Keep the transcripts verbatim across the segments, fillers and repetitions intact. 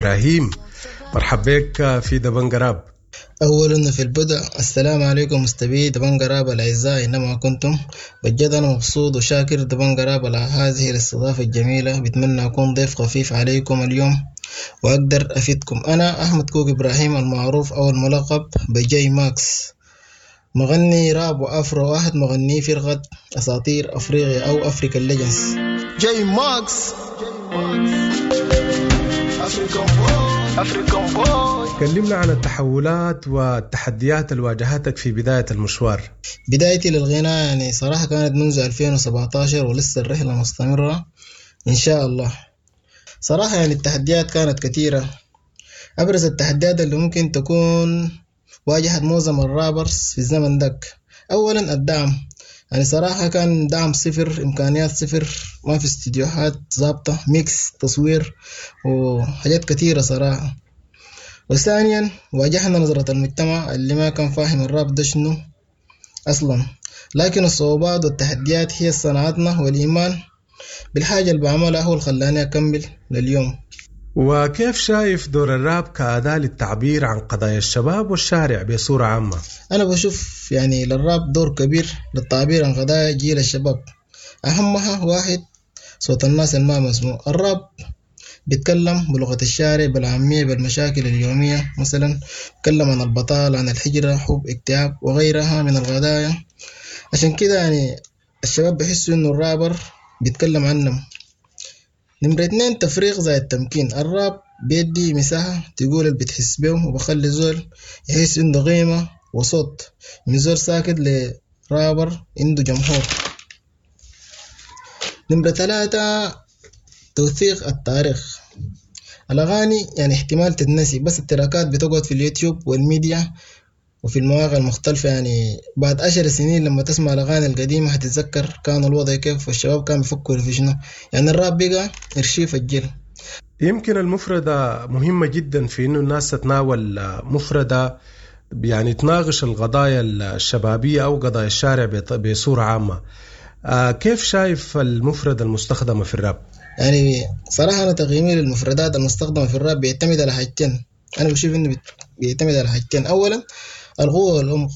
إبراهيم. مرحبا بك في دبنقا راب. أولا في البدء السلام عليكم مستمعي دبنقا راب الأعزاء أينما كنتم. بجد أنا مبسوط وشاكر دبنقا راب على هذه الاستضافة الجميلة. بتمنى أكون ضيف خفيف عليكم اليوم وأقدر أفيدكم. أنا أحمد كوك إبراهيم المعروف أو الملقب بجاي ماكس، مغني راب وأفرو، واحد مغني فرقة أساطير أفريقيا أو African Legends. جاي ماكس African boy، African boy. كلمنا عن التحولات والتحديات اللي واجهتك في بداية المشوار. بدايتي للغناء يعني صراحة كانت منذ ألفين وسبعتاشر ولسه الرحلة مستمرة إن شاء الله. صراحة يعني التحديات كانت كثيرة. أبرز التحديات اللي ممكن تكون واجهت معظم ال rappers في الزمن داك، أولا الدعم. يعني صراحة كان دعم صفر، إمكانيات صفر، ما في استديوهات ظابطة، mix، تصوير وحاجات كثيرة صراحة. وثانيا واجهنا نظرة المجتمع اللي ما كان فاهم الراب ده شنو أصلا. لكن الصعوبات والتحديات هي صنعتنا، والإيمان بالحاجة اللي بعملها هو اللي خلاني أكمل لليوم. وكيف شايف دور الراب كأداة للتعبير عن قضايا الشباب والشارع بصورة عامة؟ أنا بشوف يعني للراب دور كبير للتعبير عن قضايا جيل الشباب، أهمها واحد صوت الناس الما مسموع. الراب بيتكلم بلغة الشارع، بالعامية، بالمشاكل اليومية، مثلا بيتكلم عن البطالة، عن الحجرة، حب، اكتئاب وغيرها من القضايا. عشان كده يعني الشباب بيحسوا إنه الرابر بيتكلم عنهم. نمرة اتنين تفريغ زي التمكين. الراب بيدي مساحة تقول اللي بتحس بيه، وبخلي زول يحس عنده قيمة وصوت، من زول ساكت لرابر عنده جمهور. نمرة ثلاثة توثيق التاريخ. الأغاني يعني احتمال تتنسي، بس التراكات بتقعد في اليوتيوب والميديا وفي المواقع المختلفة. يعني بعد عشر سنين لما تسمع الأغاني القديمة هتتذكر كان الوضع كيف والشباب كانوا بيفكروا في شنو. يعني الراب بقى إرشيف الجيل. يمكن المفردة مهمة جدا في إنه الناس تتناول مفردة يعني تناقش القضايا الشبابية أو قضايا الشارع بط-، بصورة عامة. آه، كيف شايف المفردة المستخدمة في الراب؟ يعني صراحة أنا تقييمي للمفردات المستخدمة في الراب بيعتمد على حاجتين. أنا بشوف إنه بيت-، بيعتمد على حاجتين. أولا القوة والعمق.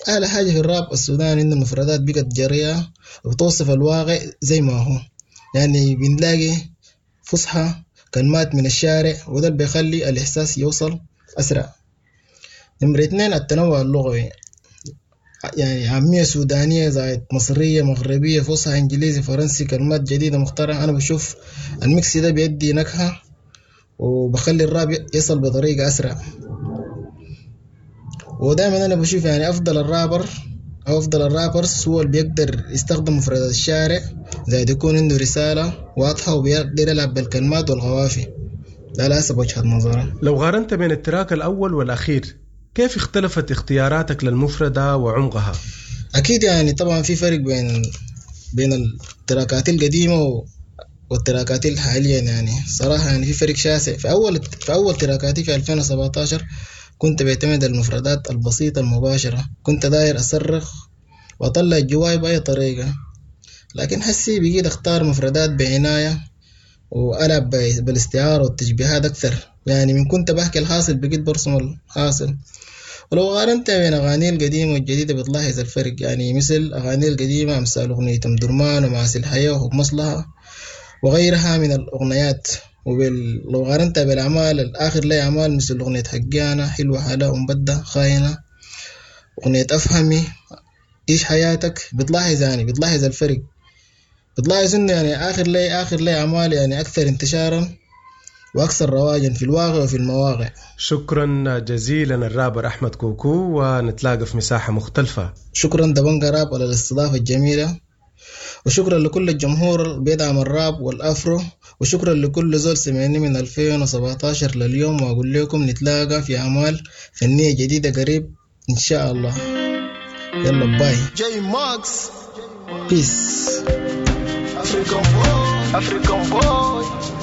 أعلى حاجة في الراب السوداني إنه المفردات بقت جريئة وبتوصف الواقع زي ما هو. يعني بنلاقي فصحى كلمات من الشارع، وده اللي بيخلي الإحساس يوصل أسرع. نمرة اتنين التنوع اللغوي. يعني عامية سودانية زائد مصرية مغربية فصحى إنجليزي فرنسي، كلمات جديدة مخترعة. أنا بشوف الميكس ده بيدي نكهة وبخلي الراب يصل بطريقة أسرع. ودائما أنا بشوف يعني أفضل الرابر أو أفضل الرابرز هو اللي بيقدر يستخدم مفردات الشارع، زائد يكون عنده رسالة واضحة وبيقدر يلعب بالكلمات والقوافي. ده على حسب وجهة نظري. لو قارنت بين التراك الأول والأخير، كيف اختلفت اختياراتك للمفردة وعمقها؟ أكيد يعني طبعا في فرق بين، بين التراكات القديمة و-، والتراكات الحالية. يعني صراحة يعني في فرق شاسع. في أول، في أول تراكاتي في ألفين وسبعتاشر كنت بعتمد المفردات البسيطة المباشرة، كنت داير أصرخ وأطلع جواي بأي طريقة. لكن حسي بقيت أختار مفردات بعناية وألعب ب-، بالاستعارة والتشبيهات أكثر. يعني من كنت بحكي الحاصل بقيت برسم الحاصل. ولو قارنت بين أغاني القديمة والجديدة بتلاحظ الفرق. يعني مثل أغاني القديمة أمثال أغنية أم درمان ومعاصي الحياة وحب مصلحة وغيرها من الأغنيات. وبال-، لو قارنتها بالأعمال الآخر لي أعمال مثل أغنية حقانة، حلوة حلا، أم بدة، خاينة، أغنية أفهمي، عيش حياتك، بتلاحظ يعني بتلاحظ الفرق. بتلاحظ إنه يعني آخر لي، آخر لي أعمال يعني أكثر انتشارا وأكثر رواجا في الواقع وفي المواقع. شكرا جزيلا الرابر أحمد كوكو، ونتلاقى في مساحة مختلفة. شكرا دبنقا راب على الاستضافة الجميلة، وشكرا لكل الجمهور اللي بيدعم الراب والأفرو، وشكرا لكل زول سمعني من ألفين وسبعتاشر لليوم. وأقول لكم نتلاقى في أعمال فنية جديدة قريب إن شاء الله. يلا باي. جاي ماكس. بيس. African boy. African boy.